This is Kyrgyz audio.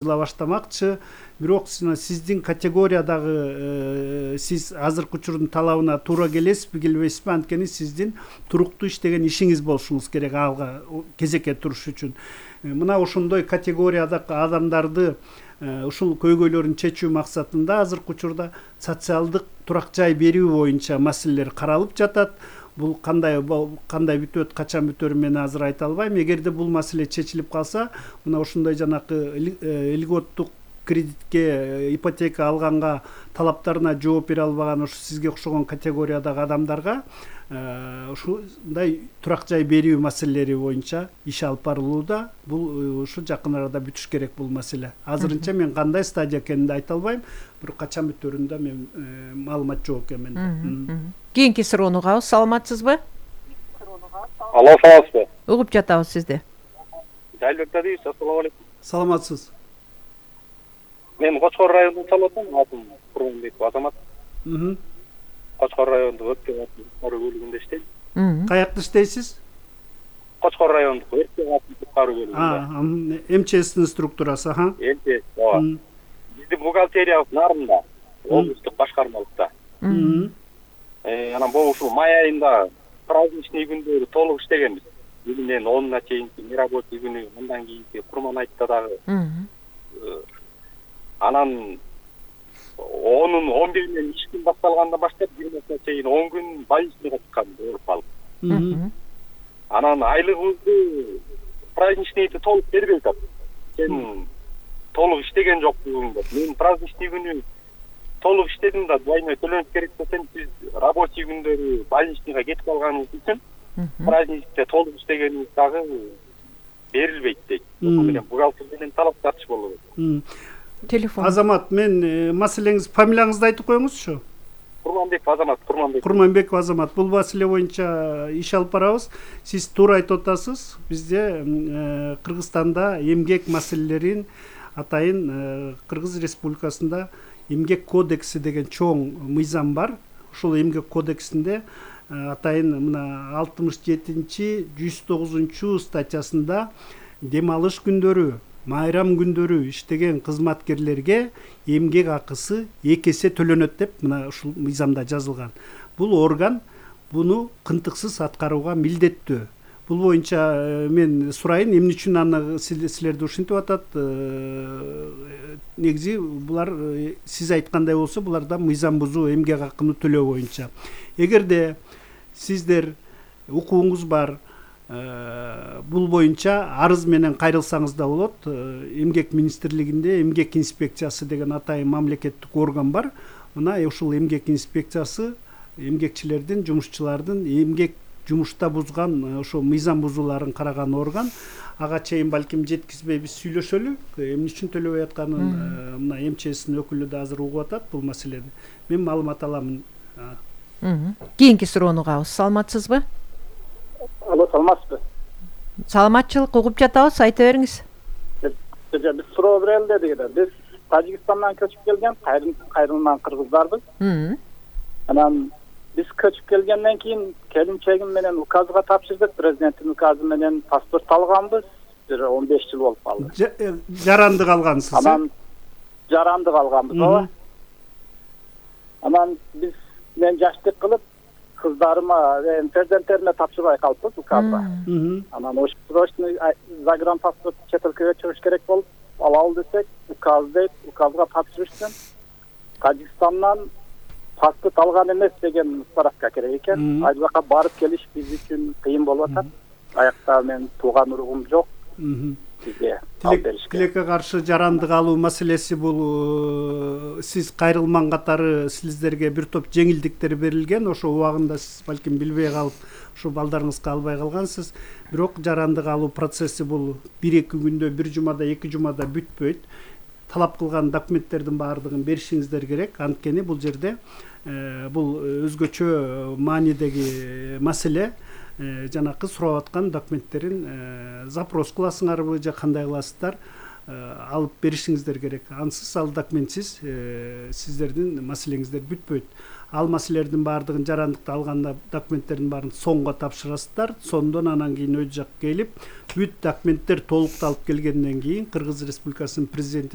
баштамакчы. Бирок сиздин категориядагы сиз азыркы учурдун талабына туура келесизби, келбейсизби? Анткени сиздин туруктуу иштеген ишиңиз болушуңуз керек алга кезекке туруш үчүн. Мына ошондой категориядагы адамдарды ушул көйгөйлөрүн чечүү максатында азыркы учурда социалдык турак жай берүү боюнча маселелер каралып жатат. Бул кандай бүтөт, качан бүтөрүн мен азыр айта албайм. Эгерде бул маселе чечилип калса, мына ошондой жанакы льготтук кредитке, ипотека алганга талаптарына жооп бере албаган ошо сизге окшогон категориядагы адамдарга ушундай турак жай берүү маселелери боюнча иш алып барылууда. Бул ушу жакын арада бүтүш керек бул маселе. Азырынча мен кандай стадия экенин айта албайм, бирок качан бүтөрүндө мен маалымат жок экен менде. Кийинки суроону угабыз. Саламатсызбы? Алло, саламатсызбы? Угуп жатабыз сизди. Жайлыкта дейбиз. Ассаламу алейкум. Саламатсыз. Мен Кочкор районунан чалып атам. Курманбеков Азамат. Кочкор райондук өрт катары бөлүгүндө иштейм. Каякта иштейсиз? Кочкор райондук өрт катары бөлүгүндө. МЧСтин структурасы, МЧС, ооба. Биздин бухгалтериябыз Нарында, облустук башкармалыкта. Анан бул ушул май айында праздничный күндөрү толук иштегенбиз. Бүгүнөн 10-на чейинки нерабочий күнү, андан кийинки курман айтта дагы. Анан 11-нен иш күн башталгандан баштап 20-на чейин 10 күн больничныйга чыккан ооруп алып. Анан айлыгыбызды праздничныйды толук бербей атат. Сен толук иштеген жоксуң деп. Мен праздничный күнү толук иштедим да, двойной төлөнүш керек десем, сиз рабочий күндөрү больничныйга кетип калганыңыз үчүн праздникте толук иштегениңиз дагы берилбейт дейт. Ошол менен бухгалтер менен талап тартыш болуп атат. Телефон. Азамат, мен маселеңиз, фамилияңызды айтып коюңузчу. Курманбеков Азамат, Курманбеков Азамат. Бул маселе боюнча иш алып барабыз. Сиз туура айтып атасыз. Бизде Кыргызстанда эмгек маселелерин атайын Кыргыз Республикасында эмгек кодекси деген чоң мыйзам бар. Ушул эмгек кодексинде атайын мына 67-109 статьясында дем алыш күндөрү, майрам күндөрү иштеген кызматкерлерге эмгек акысы 2 эсе төлөнөт деп мына ушул мыйзамда жазылган. Бул орган буну кынтыксыз аткарууга милдеттүү. Бул боюнча мен сурайын, эмне үчүн аны силерди ушинтип атат? Негизи булар сиз айткандай болсо, буларда мыйзам бузуу эмгек акыны төлөө боюнча. Эгерде сиздер укугуңуз бар, бул боюнча арыз менен кайрылсаңыз да болот. Эмгек министрлигинде эмгек инспекциясы деген атайын мамлекеттик орган бар. Мына ушул эмгек инспекциясы эмгекчилердин, жумушчулардын эмгек жумушта бузган ошо мыйзам бузууларын караган орган. Ага чейин балким жеткизбейбиз, сүйлөшөлү. Эмне үчүн төлөбөй атканын мына МЧСтин өкүлү да азыр угуп атат бул маселени. Мен маалымат аламын. Кийинки суроону угабыз. Саламатсызбы? Алло, саламатсызбы? Саламатчылык, угуп жатабыз, айта бериңиз. Биз суроо берели дедик. Биз Тажикстандан көчүп келген кайрылман кыргыздарбыз. Анан биз көчүп келгенден кийин келинчегим менен указга тапшырдык. Президенттин указы менен паспорт алганбыз. 15 жыл болуп калды. Жарандык алгансыз. Анан жарандык алганбыз, ооба. Анан биз мен жаштык кылып кыздарыма, перзенттериме тапшырбай калыппыз указга. Анан срочный загранпаспорт чет өлкөгө чыгыш керек болуп, алалы десек, указ дейт, указга тапшырыштым. Тажикстандан паспорт алган эмес деген справка керек экен. Ал жака барып келиш биз үчүн кыйын болуп атат. Аякта мен тууган уругум жок. Бизге алып беришке. Тилекке каршы жарандык алуу маселеси бул сиз кайрылман катары сиздерге бир топ жеңилдиктер берилген. Ошо убагында сиз балким билбей калып, ушу балдарыңызга албай калгансыз. Бирок жарандык алуу процесси бул 1-2 күндө, 1 жумада, 2 жумада бүтпөйт. Талап кылган документтердин баардыгын беришиңиздер керек. Анткени бул жерде бул өзгөчө маанидеги маселе. Жанакы сурап аткан документтерин запрос кыласыңарбы же кандай кыласыздар? алып беришиңиздер керек. Ансыз ал документсиз сиздердин маселеңиздер бүтпөйт. Ал маселелердин баардыгын жарандыкты алганда документтердин баарын соңго тапшырасыздар. Сондон анан кийин өз жак келип бүт документтер толукталып келгенден кийин Кыргыз Республикасынын президенти